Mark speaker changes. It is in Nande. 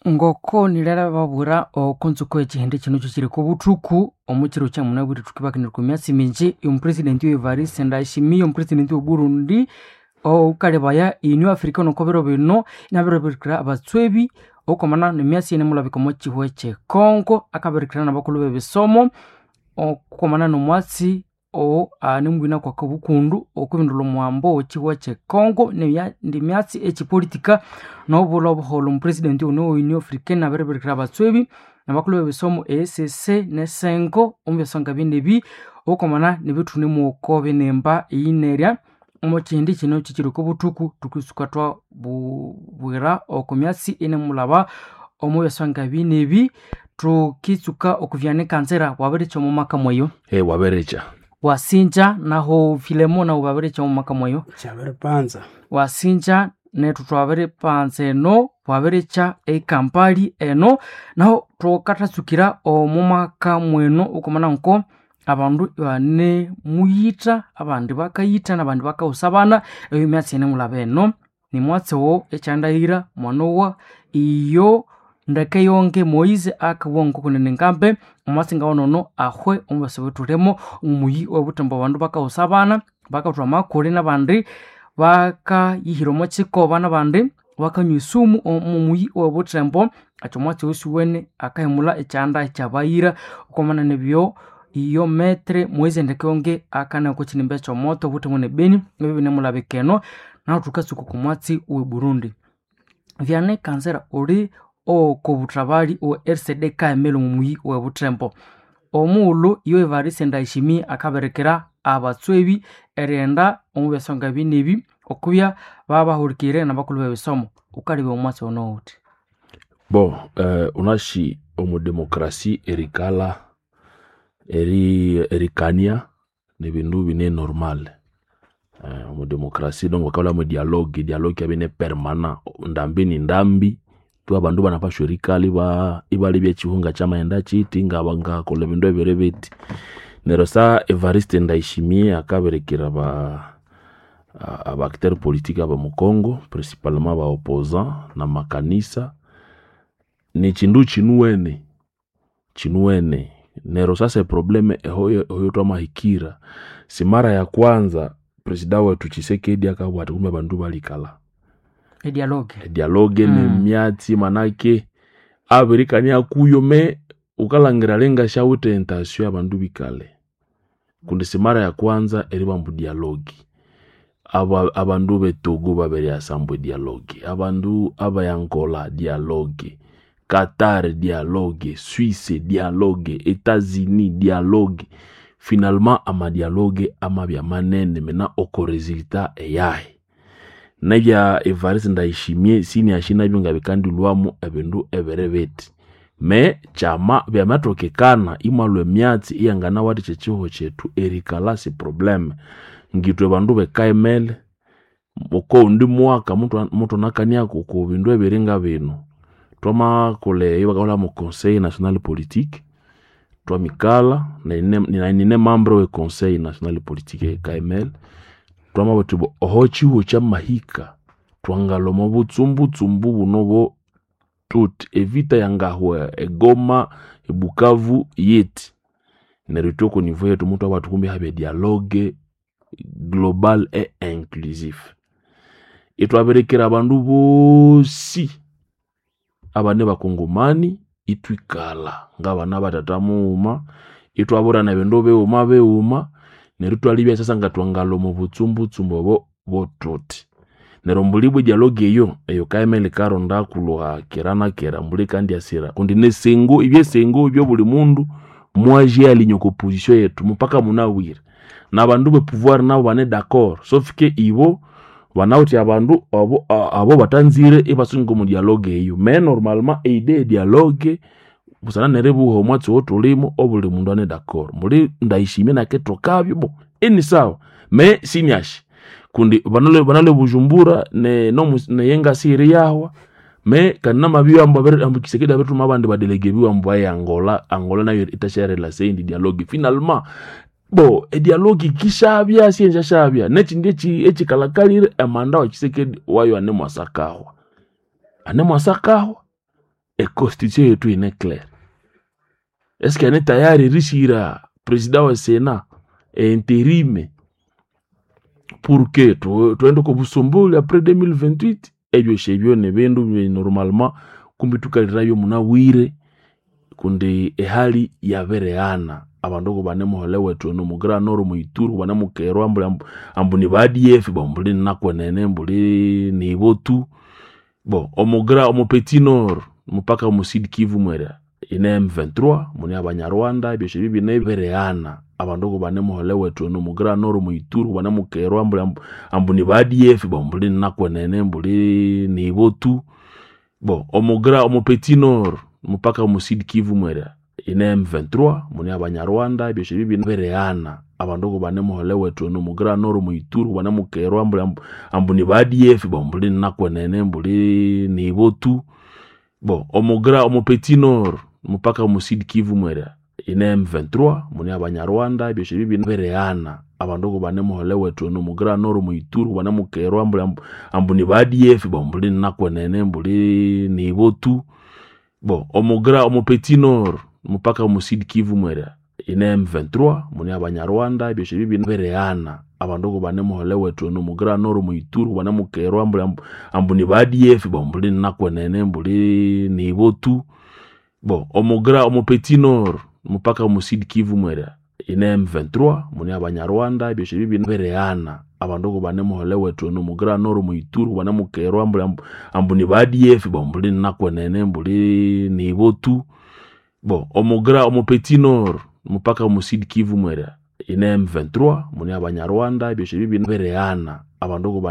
Speaker 1: Ngoko nilera oko ntsuko ekihindi kino kyekiri kobuthuku omukiro kyamunabwire thukibakanira okwa myatsi mingi omupresidenti Evariste Ndayishimiye omupresidenti we Burundi okalebaya Union Africana oko biro bino inabiribirikira abatswebi okwamana nemyatsi eyinemulabika omo kihugho ekye Congo akabirikira nabakulhu bebisomo okwamana nomwatsi anemwina kwakabukundu okwibindulha omuhambo owekihugho ekye Congo neyindi myatsi ekyipolitika nobulha obuholho omupresidenti ono we Union Africana abiribirikira abatswebi nabakulhu bebisomo EACC nesengo omubyasonga binebi okwamana nebithunemu binimba eyinerya omo kihindi kino kikiri okobuthuku thukisuka twabubwira oko myatsi eyinemulhaba omo byasonga binebi thukitsuka okuvyanika nzira wabirikya omo maka mweyo.
Speaker 2: Wabirikya.
Speaker 1: Wasinja naho Filemo nahu wabirikya omo maka mweyo.
Speaker 3: Kyabiripanza.
Speaker 1: Wasinja nethu twabiripanza eno wabirikya ekampali eno naho thukathatsukira omo maka mweno okwamana nko abandu ibanemuyitha abandi bakayitha nabandi bakawusa abana eyo myatsi yinemulhaba eno nimwatsi owo ekyandahira mwanowa iyo ndeke yonke Moise akabugha ngokunene ngambe omwatsi ngawunono ahwe omubasi wethulimo omuyi owebuthembo abandu bakawusa abana bakathwa amakule nabandi bakayihira omo kikoba nabandi bakanywa esumu omu muyi owebuthembo ekyo omwatsi oyo siwene akahimulha ekyanda ekyabayira okwamana nebyo iyo metre Moise ndeke yonke akanaya oko kinimba ekyomoto obuthembo ne Beni ebyo binemulabika eno nahu thukatsuka oko mwatsi owe Burundi. Vyanekanzira uli okobuthabali owe RCD KML omu muyi owebuthembo omughulhu iyo Evariste Ndayishimiye akabirikira abatswebi erighenda omu byasonga binebi okubya babahulikirire nabakulhu bebisomo wukalebya omwatsi ono wuthi.
Speaker 2: Bon, unashi omu demokrasi erikalha erikania nibindu bine normal. Omu demokrasi donc bakabulhamu edialogue, edialogue yabya ine permanent ndambi ni ndambi tu abandu ibanapashwa erikalha ibalebya ekihugho ngakyamaghenda kyithi ngakolha ebindu ebiri bithi. Neryo sa Evariste Ndayishimiye akabirikira aba acteur politique abomu Congo principalement aba opposant namakanisa nikyindu kyinuwene kyinuwene neryo sasa eproblem ehoyo thwamahikira simara ya kwanza presida wethu Tshisekedi akabugha athi kumbe abandu balikalha
Speaker 1: Edialogue.
Speaker 2: Edialogue nemyatsi manake abirikania kuyo me wukalhangira alinga syawithe intention yabandu bikalhe kundi simara ya kwanza eribamba dialogue. Abandu be Togo babiryasa ambu edialogue, abandu abe Angola dialogue, Qatar dialogue, Suisse dialogue, Etats-Unis dialogue. Finalement amadialogue amabya manene mena oko resultat eyahi. Nebya Evariste Ndayishimiye siniashi nabyo ngabikandilhwamu ebindu ebiri bithi. Me kyama byamathokekana imwalhwa emyatsi iyanganawathikya ekihugho kyethu erikalha si probleme. Ngithwe bandu be KML okowundi mwaka muthunakaniaku oko bindu ebiri ngabinu. Thwamakolha eyo bakabulhamu conseil national politique thwamikalha nayi nine membre we conseil national politique eye KML thwamabugha thuthi oho kyihugho kyamahika thwangalhwa omo butsumbutsembu buno bo thuthi evita yangahwa e Goma, e Bukavu yithi. Neryo ithwe oko niveau yethu muthwabugha thuthi kumbe ihabya edialogue global et inclusif. Ithwabirikira abandu bosi abane bakongomani ithwikalha ngabana bathatha mughuma ithwaburana ebindu bighuma bighuma neryo ithwalebya sasa ngathwangalhwa omo butsumbutsembu obo bothuthi. Neryo mbuli ibwa edialogue eyo, eyo KML yikaronda kulwa kera na kera mbuli yikandyasira kundi nesengo ebyesengo ebyobuli mundu mwajealinye oko position yethu mupaka munabwire. Nabandu be pouvoir nabo bane d'accord sauf que ibo banawithe abandu abo batanzire ibasunga omu dialogue eyo. Mais normalement eidée ye dialogue busana neribugha omwatsi owathulimu obuli mundu ane d'accord. Mbuli Ndayishimiye nakithokabyo bo inisawa mais siniashi kundi banalwe Bujumbura neyengasi iriyahwa mais kandi namabibya ambu Tshisekedi abirithuma abandi badelege biwe ambu baye Angola, Angola nayo yithasyarilasa eyindi dialogue. Finalement bo edialogue yikishabya siyenzyashabya nekyindi ekyikalakalire emanda wa Tshisekedi wayo anemwasakahwa anemwasakahwa. Econstitution yetu ine claire. Eske ane tayari erishira president wa Sénat intérim pour que twende ko busomboli après 2028? Ebyo shebyo ne bindu bye normalement kumbi tukalirayo munabwire, kundi ehali yabireghana. Abandu kubanemuhole wethu eno mu Grand Nord, mu Ituri kubanemukerwa ambuli ambu ni ba ADF bo mbuli nakwenene mbuli nibo tu bo omu omu Petit Nord mpaka mu Sud Kivu mwera ine M23 muni abanyarwanda. Ebyo shebyo bine bireghana. Abandu kubanemuhole wethu eno mu Grand Nord, mu Ituri kubanemukerwa ambuli ambu ni ba ADF bo mbuli nakwenene mbuli nibo tu bo omu omu Petit Nord mpaka mu Sud Kivu mwera ine M23 muni abanyarwanda. Ebyo shebyo bine bireghana. Abandu kubanemuhole wethu eno mu Grand Nord, mu Ituri kubanemukerwa ambuli ambu ni ba ADF bo mbuli nakwenene mbuli nibo tu bo omu omu Petit Nord mpaka mu Sud Kivu mwera ine M23 muni abanyarwanda. Ebyo shebyo bine bireghana. Abandu kubanemuhole wethu eno mu Grand Nord, mu Ituri kubanemukerwa ambuli ambu ni ba ADF bo mbuli nakwenene mbuli nibo tu bo omu omu Petit Nord mpaka mu Sud Kivu mwera ine M23 muni abanyarwanda. Ebyo shebyo bine bireghana. Abandu kubanemuhole wethu eno mu Grand Nord, mu Ituri kubanemukerwa ambuli ambu ni ba ADF bo mbuli nakwenene mbuli nibo tu bo omu omu Petit Nord mpaka mu Sud Kivu mwera ine M23 muni abanyarwanda. Ebyo shebyo bine bireghana. Abandu kubanemuhole wethu eno mu Grand Nord, mu Ituri kubanemukerwa ambuli ambu ni ba ADF bo mbuli nakwenene mbuli nibo tu bo omu omu Petit Nord mpaka mu Sud Kivu mwera ine M23 muni abanyarwanda. Ebyo shebyo bine bireghana. Abandu kubane